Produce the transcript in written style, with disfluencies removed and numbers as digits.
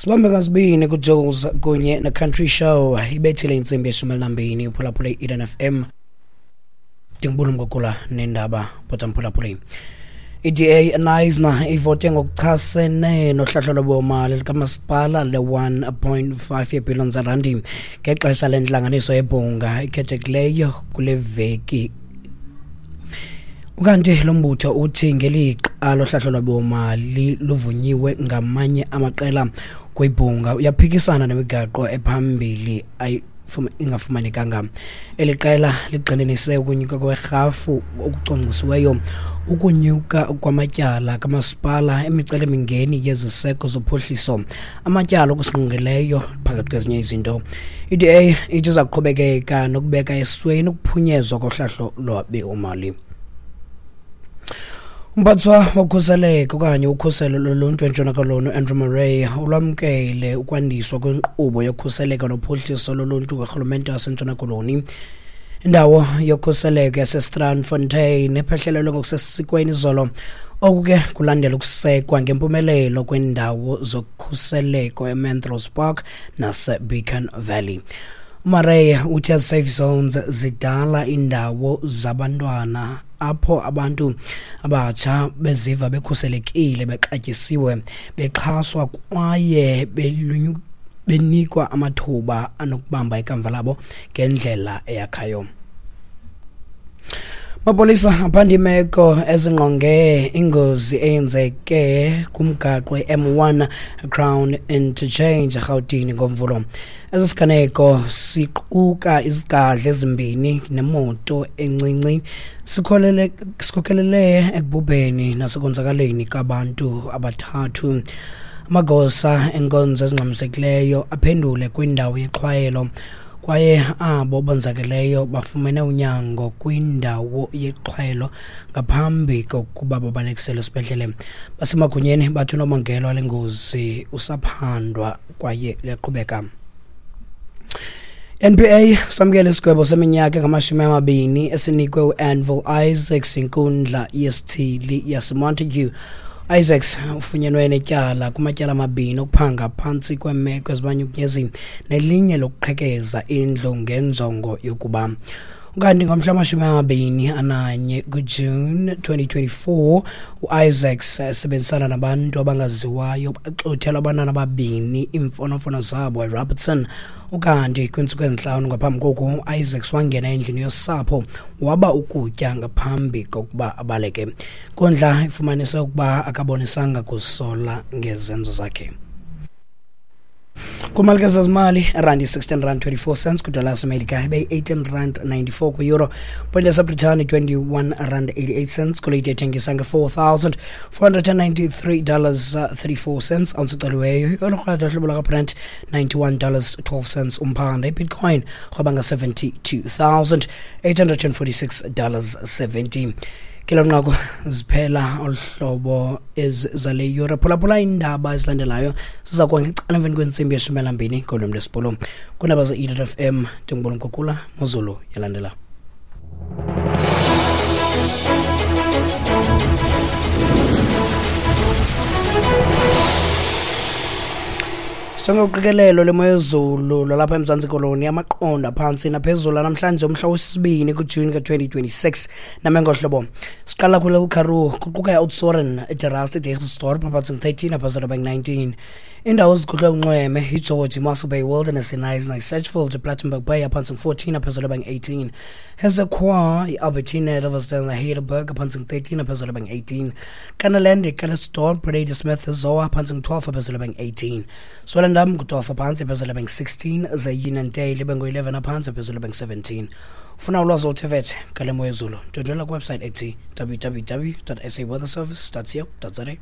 Sibambe ngazibini kuJules kunye neCountry Show. Ibethile intsimbi yeshumi elinambini, uphulaphule i-Eden FM. Ndingubula Mgugula nendaba bhota mphulaphuli. I-DA Knysna ivote ngokuchasene nohlahlo lwabiwomali likamasipala le-1.5 yeebhiliyoni zerandi ngexesha lentlanganiso yebhunga ikhethekileyo kule veki. Ukanti lo mbutho uthi ngelixa lohlahlo lwabiwomali luvunyiwe ngamanye amaqela kwibhunga, uyaphikisana nemigaqo ephambili ingafumanekanga. Eli qela ligxininise ukunyuka kwerhafu okucwangcisiweyo, ukunyuka kwamatyala kamasipala, imicelimingeni yeziseko zophuhliso, amatyala okusingqongileyo, phakathi kwezinye izinto. I-DA ithi iza kuqhubekeka nokubeka esweni ukuphunyezwa kohlahlo lwabiwomali. Umphathiswa wokhuseleko okanye ukhuselo loluntu eNtshona Koloni, uAndrew Murray, ulwamkele ukwandiswa kwenkqubo yokhuseleko nophuhliso loluntu karhulumente waseNtshona Koloni. Indawo yokhuseleko yaseStrandfontein ephehlelelwe ngokusesikweni izolo. Oku ke kulandela ukusekwa ngempumelelo kwendawo zokhuseleko eMentrose Park naseBeacon Valley. UMurray uthi ezi safe zones zidala iindawo zabantwana apho abantu abatsha beziva bekhuselekile, bexatyisiwe, bexhaswa kwaye benikwa amathuba anokubamba ikamva labo ngendlela eyakhayo. Amapolisa aphanda iimeko ezingqonge ingozi eyenzeke kumgaqo i-M1 Crown Interchange eRhawutini ngoMvulo. Esi siganeko siquka izigadla ezimbini nemoto encinci, sikhokelele ekubhubheni nasekonzakaleni kwabantu abathathu. Amagosa enkonzo ezingxamisekileyo aphendule kwindawo yexhwayelo kwaye abo bonzakeleyo bafumene unyango kwindawo yexhwayelo ngaphambi kokuba babalekiselwe esibhedlele. Basemagunyeni bathi unobangela wale ngozi usaphandwa kwaye liyaqhubeka. NPA samkele isigwebo seminyaka engama-20 esinikwe uAnvil Isaacs inkundla yesithili yaseMontague. Isaacs ufunyenwe netyala kumatyala amabini okuphanga phantsi kweemeko ezibanyukunyezi nelinye lokuqhekeza indlu ngenjongo yokuba. Ukanti ngomhla wama-21 kuJune 2024, uIsaacs esebenzisana nabantu abangaziwayo baxuthela abantwana ababini iimfonomfono zabo eRobertson. Ukanti kwiintsuku ezintlanu ngaphambi koku, uIsaacs wangena endlini yosapho waba ukutya ngaphambi kokuba abaleke. Inkundla ifumanise ukuba akabonisanga kusola ngezenzo zakhe. Kwimalike zezimali, irandi 16 rand 24 cents kwidola yaseMelika, ibe-18 rand 94 kwi-euro, point yaseBritani 21 rand 88 cents, golide ethengisa nge-$4,493 34 cents ounce iceliweyo. Olurhatha hlobo lakaBrent $91 12 cents umphanda. Ibitcoin rhweba nga-$72,846 70. Kelo nqaku ziphela olu hlobo zale yure. Phulaphula iindaba ezilandelayo ziza kuba ngecala emveni kwentsimbi yeshumi elambini ngolwimi lwesiBhulu. Kwiindaba ze-Eden FM, ndingubona Mkukula Mozulu yalandela. Sijonge uqikelelo lwemo yezulu lwalapha eMzantsi Koloni, amaqondo aphantsi naphezulu namhlanje umhla wesibini kuJuni ka-2026 name ngohlobo. Siqala kule Karoo, kuquka i-Oudtshoorn, iDe Rust, iDysselsdorp, aphantsi ngu-13, aphezulu bengu-19. Indawo ezigudlwe unxweme iGeorge, iMossel Bay Wilderness, iKnysna, iSedgefield, iPlattenberg Bay, aphantsi ngu-14, aphezulu bengu-18. Hessequa, iAlbertina, iRiversdale neHeidelberg, aphantsi ngu-13, aphezulu bengu-18. Kannaland, iCalitzdorp, Ladysmith, Zoar, aphantsi ngu-12, aphezulu bengu-18. Swellendam ngu-12 aphantsi, aphezulu bengu-16. Ze-Uniondale ibe ngu-11 aphantsi, aphezulu bengu-17. Ufuna ulwazi oluthe vetshe ngale mo yezulu, ndwendwela kwiwebsite ethi www saweatherservice co za.